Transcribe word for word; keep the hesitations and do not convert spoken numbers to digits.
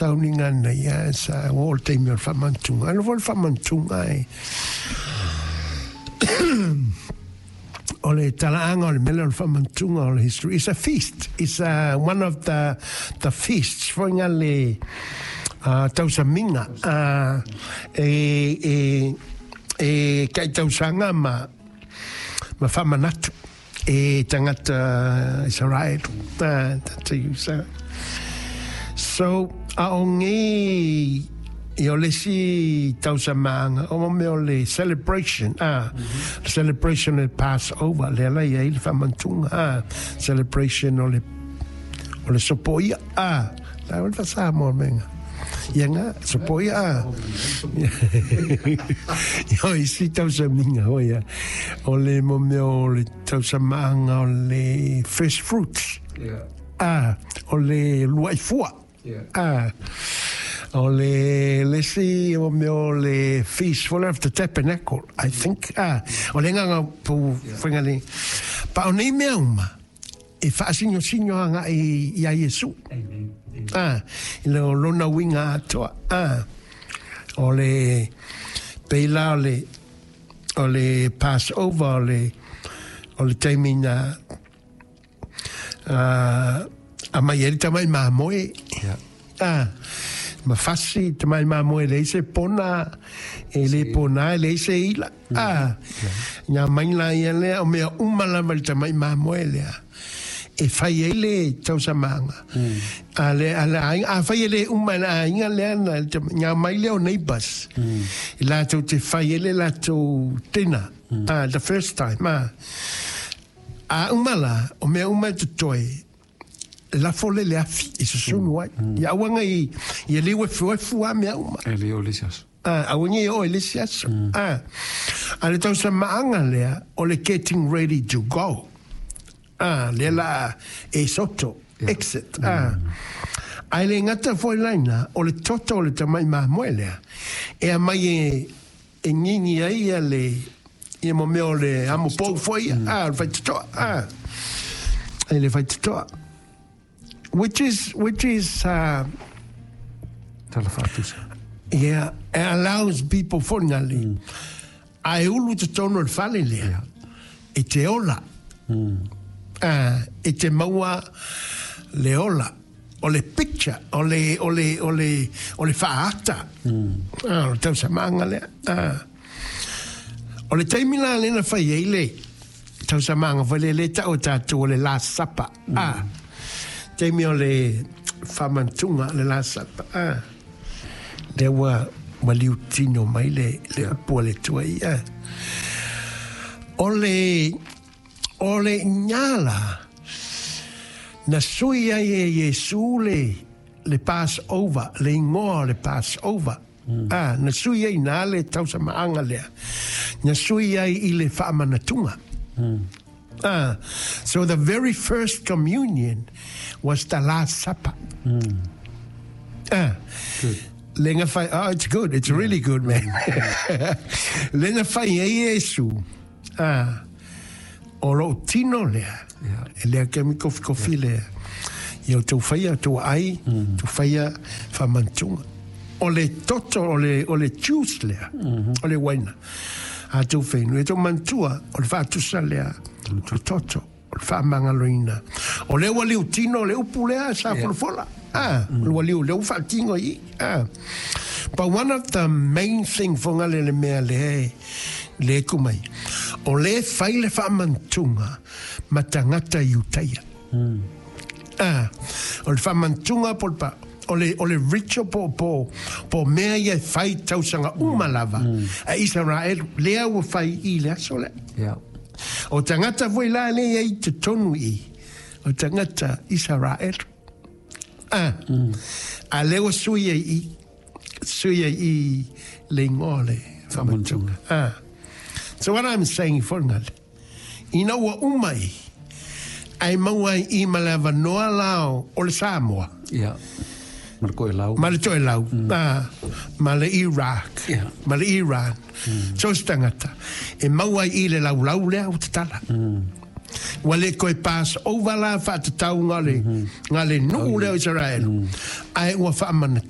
Sauniga na ia sa o le taimi o le faamanatuga. Ano foi le faamanatuga e o le talaaga o le mele o le faamanatuga o le history. It's a feast. It's a, one of the, the feasts. Foi nga le uh, tausamiga uh, e, e, e kaitausaga ma, ma faamanatu e tagata Israel. Uh, ta So, a o ngi i o le si tausamanga, o mo o le celebration, ah, mm -hmm. celebration o le Passover, le ala ia i le faamanatuga, ah, celebration o le, o le sopoia, ah, la o le fasamoa menga. Ia nga, sopoia, ah. O isi tausamiga, o ia, o le mo mea o le tausamanga o le first fruits. Yeah. Ah, o le luaifua. Yeah. Ah, o le le si o mea o le feast for of the tabernacle, I think. Ah, o le nganga pu whenga le. Pa o nei mea uma, e whaasingo singo anga i, i a Iesu. Amen. Amen. Ah, i le o lona winga atoa. Ah, o le peila o le o le Passover o le o le taimi na uh, a mai e tamai mamoe. Yeah. Ah, ma fasi tamai mamoe le se pona e le pona e le se ila. Ah, nga mai la ia lea o mea uma lava le tamai mamoe lea. E fai ai le tausamanga. A le a le aiga a fai e le uma le aiga lea na nga mai lea o neighbors. I latou te fai ai le latou dinner. Ah, the first time. Ah. A uma la, o mea uma e totoe, lafo le le afi i susunu ai. Ia auanga i, i le uefu efu a mea uma. E le o le isi aso. Ah, auanga i o i le isi aso. Ah, a le tausamaanga lea, o le getting ready to go. Ah, lea la e soto, exit. Ah. Ai le ngata foi laina, o le toto o le tamai mamoe lea. E a mai e, e ngingi ai ia le, ia mo mea o le amo pou foi, ah, o le faitotoa, ah. E le faitotoa. Which is, which is, uh, Tala whaatusa. yeah, it allows people for ngali. Mm. A e ulu te tono le fale lea. Yeah. E te ola. Mm. Uh, e te maua le ola. O le picture, o le, o le, o le, o le whaata. Mm. Ah, o le tausamanga lea. Ah. O le taimi la lena fai ei le tausamanga fai le le tau tātou o le Last Supper. Mm. Ah. Taimi o le whamantunga, le Last Supper. Ah. Le ua ua liutino mai le, le upu a le Atua i. Ah. O le, o le nyala, na sui ai e Iesu le, le Passover, le ingoa o le Passover. Mm. Ah, na sui ai nā le tausamaanga lea. Na sui ai i le whaamanatunga. Mm. Ah, so the very first communion was the Last Supper. Mm. Ah. Good. Le nga fai, oh, it's good, it's really good, man. Le nga fai e Iesu. Ah, o lo tino lea. Yeah. E lea ke mi kofi kofi lea. Ia o tau whaia, tau ai, mm. tau whaia whamantunga. O le toto, o le, o le juice lea, mm -hmm. o le waina. A tau whainu, e tau mantua, o le whaatusa lea, o le toto, o le whaamangaloina. O le ua liu tino, o le upu lea, sa yeah. folafola. Ah, mm. ua liu, le u whaatingo i. Ah. But one of the main thing fo ngale le mea le, le kumai, o le whai le whaamantunga, ma tangata i utaia. Mm. Ah, o le whaamantunga po le pa, o le, o le ritual po, po, po mea ia e whai tausanga uma lava. Mm. A Israel, lea ua whai i le aso lea. Yeah. O tangata foi la le ia i te tonu i. O tangata Israel. Ah. Mm. A lea sui ai i, sui ai i le ingoa le whamantunga. Ah. So what I'm saying for ngale, ina ua uma i, ai maua i malava noa lao o le Samoa. Yeah. Ma le koe lau. Ma le toe lau. Mm. Ah, ma le Iraq. Yeah. Ma le Iran. Mm. So se tangata. E maua i le lau lau lea o te tala. Mm. Ua le koe pass over la whaatatau ngā le, Mm-hmm. ngā le nuu leo Israel. Mm. Ai ua whaamana